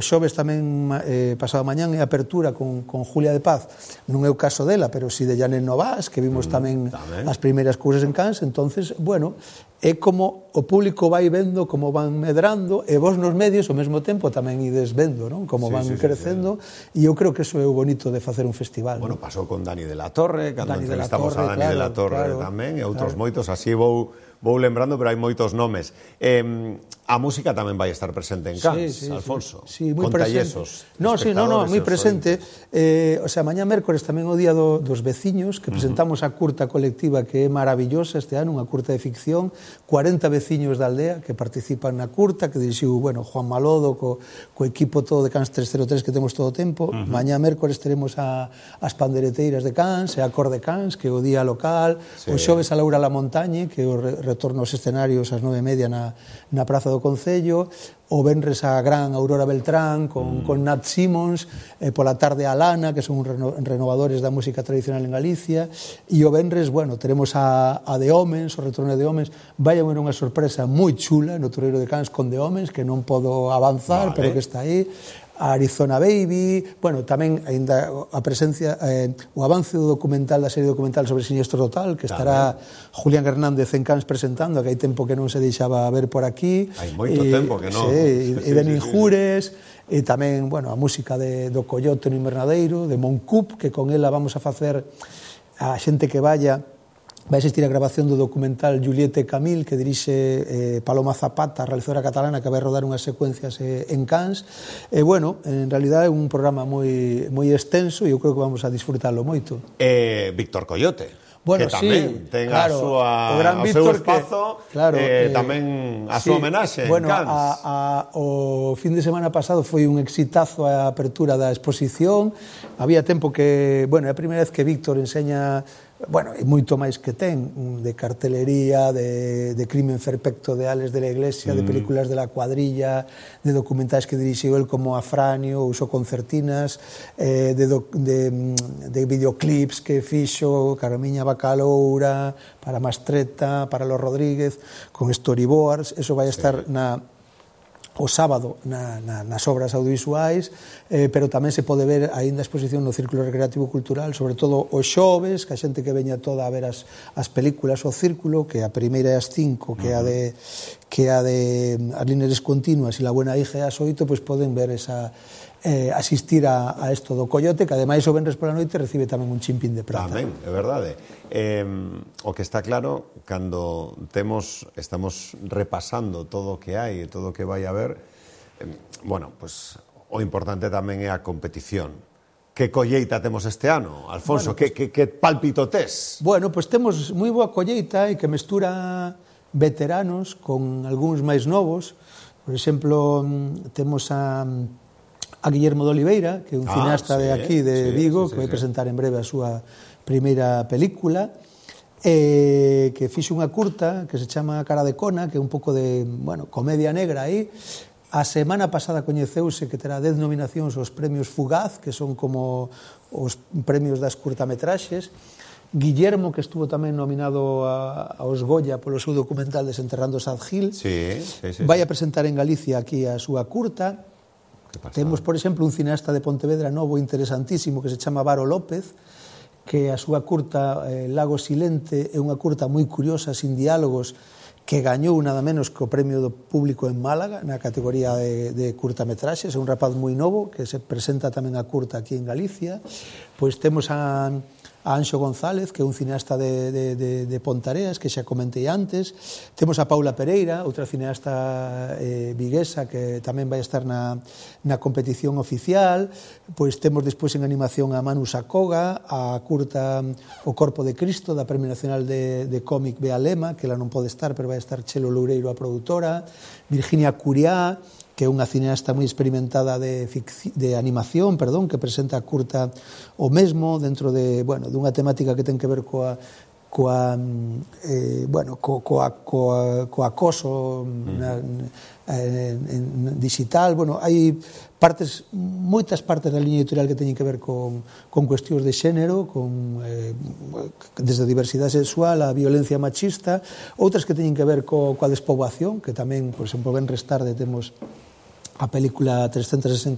Xoves tamén pasado mañán é apertura con Julia de Paz, non é o caso dela, pero si de Janet Novas, que vimos tamén as primeiras cousas en Cans. Entonces, bueno, é como o público vai vendo como van medrando, e vos nos medios ao mesmo tempo tamén ides vendo, non? Como van crecendo, e eu creo que eso é o bonito de facer un festival. Bueno, pasou con Dani de la Torre, cando entrevistamos a Dani de la Torre tamén, e outros moitos, así vou lembrando, pero hai moitos nomes. A música tamén vai estar presente en Cans, Alfonso, con tallesos. Non, moi presente. O sea, mañá mércores tamén o día dos veciños, que presentamos a curta colectiva que é maravillosa este ano, unha curta de ficción, 40 veciños da aldea que participan na curta, que dirixiu, bueno, Juan Malodo, co equipo todo de Cans 303 que temos todo o tempo. Mañá mércores teremos as pandereteiras de Cans, e a Cor de Cans, que é o día local, o xoves a Laura La Montañe, que é o retorno aos escenarios ás 9:30 na Praza do Concello, o venres a gran Aurora Beltrán con Nat Simons, pola tarde a Lana, que son renovadores da música tradicional en Galicia, e o venres, bueno, teremos a De Homens, o retorno de Homens. Vai haber unha sorpresa moi chula no Torreiro de Cans con De Homens, que non podo avanzar, pero que está aí. A Arizona Baby, bueno, tamén ainda a presencia, o avance do documental, da serie documental sobre Siniestro Total, que estará Julián Hernández en Cans presentando, que hai tempo que non se deixaba ver por aquí. Hai moito tempo que non. E Benin Jures, e tamén, bueno, a música do Coyote no Invernadeiro, de Moncup, que con ela vamos a facer a xente que vaya. Vai existir a grabación do documental Juliette Camil, que dirixe Paloma Zapata, a realizadora catalana, que vai rodar unhas secuencias en Cans. E, bueno, en realidad é un programa moi extenso e eu creo que vamos a disfrutalo moito. Víctor Coyote, bueno, que tamén ten o seu espazo, tamén a súa homenaxe en Cans. O fin de semana pasado foi un exitazo a apertura da exposición. Había tempo que, bueno, é a primeira vez que Víctor enseña, bueno, e moito máis que ten, de cartelería, de Crimen Perfecto de Ales de la Iglesia, de películas de La Cuadrilla, de documentais que dirixiu el como Afranio, usou concertinas, de videoclips que fixo Carmiña Bacaloura, para Mastreta, para Los Rodríguez, con storyboards. Eso vai estar o sábado nas obras audiovisuais, pero tamén se pode ver aínda a exposición no Círculo Recreativo Cultural, sobre todo os xoves, que a xente que veña toda a ver as películas ao Círculo, que a primeira é ás 5, que é a de As líneas continuas e La buena hija é ás 8, pois poden ver asistir a isto do Coyote, que ademais o venres pola noite recibe tamén un chimpín de prata. Tamén, é verdade. O que está claro, cando estamos repasando todo o que hai e todo o que vai haber, bueno, pues o importante tamén é a competición. Que colleita temos este ano, Alfonso? Que pálpito tes? Bueno, pues temos moi boa colleita e que mestura veteranos con algúns máis novos. Por exemplo, temos a Guillermo de Oliveira, que é un cineasta de aquí, de Vigo, que vai presentar en breve a súa primeira película, que fixe unha curta que se chama Cara de Cona, que é un pouco de, bueno, comedia negra aí. A semana pasada coñeceuse que terá 10 nominacións aos premios Fugaz, que son como os premios das curtametraxes. Guillermo, que estuvo tamén nominado aos Goya polo seu documental Desenterrando Sad Hill, vai a presentar en Galicia aquí a súa curta. Temos, por exemplo, un cineasta de Pontevedra novo interesantísimo que se chama Varo López, que a súa curta Lago Silente é unha curta moi curiosa, sin diálogos, que gañou nada menos que o premio do público en Málaga na categoría de curtametraxes. É un rapaz moi novo que se presenta tamén a curta aquí en Galicia. Pois temos a Anxo González, que é un cineasta de Pontareas, que xa comentei antes. Temos a Paula Pereira, outra cineasta viguesa, que tamén vai estar na competición oficial. Pois temos despois en animación a Manu Sacoga, a curta O Corpo de Cristo, da Premio Nacional de Cómic Bea Lema, que ela non pode estar, pero vai estar Chelo Loureiro, a produtora. Virginia Curiá, que é unha cineasta moi experimentada de animación, que presenta a curta o mesmo dentro de, bueno, dunha temática que ten que ver co acoso digital. Bueno, hai moitas partes da liña editorial que teñen que ver con cuestións de xénero, desde a diversidade sexual a violencia machista, outras que teñen que ver coa despoboación, que tamén, por exemplo, ben restarde temos a película 360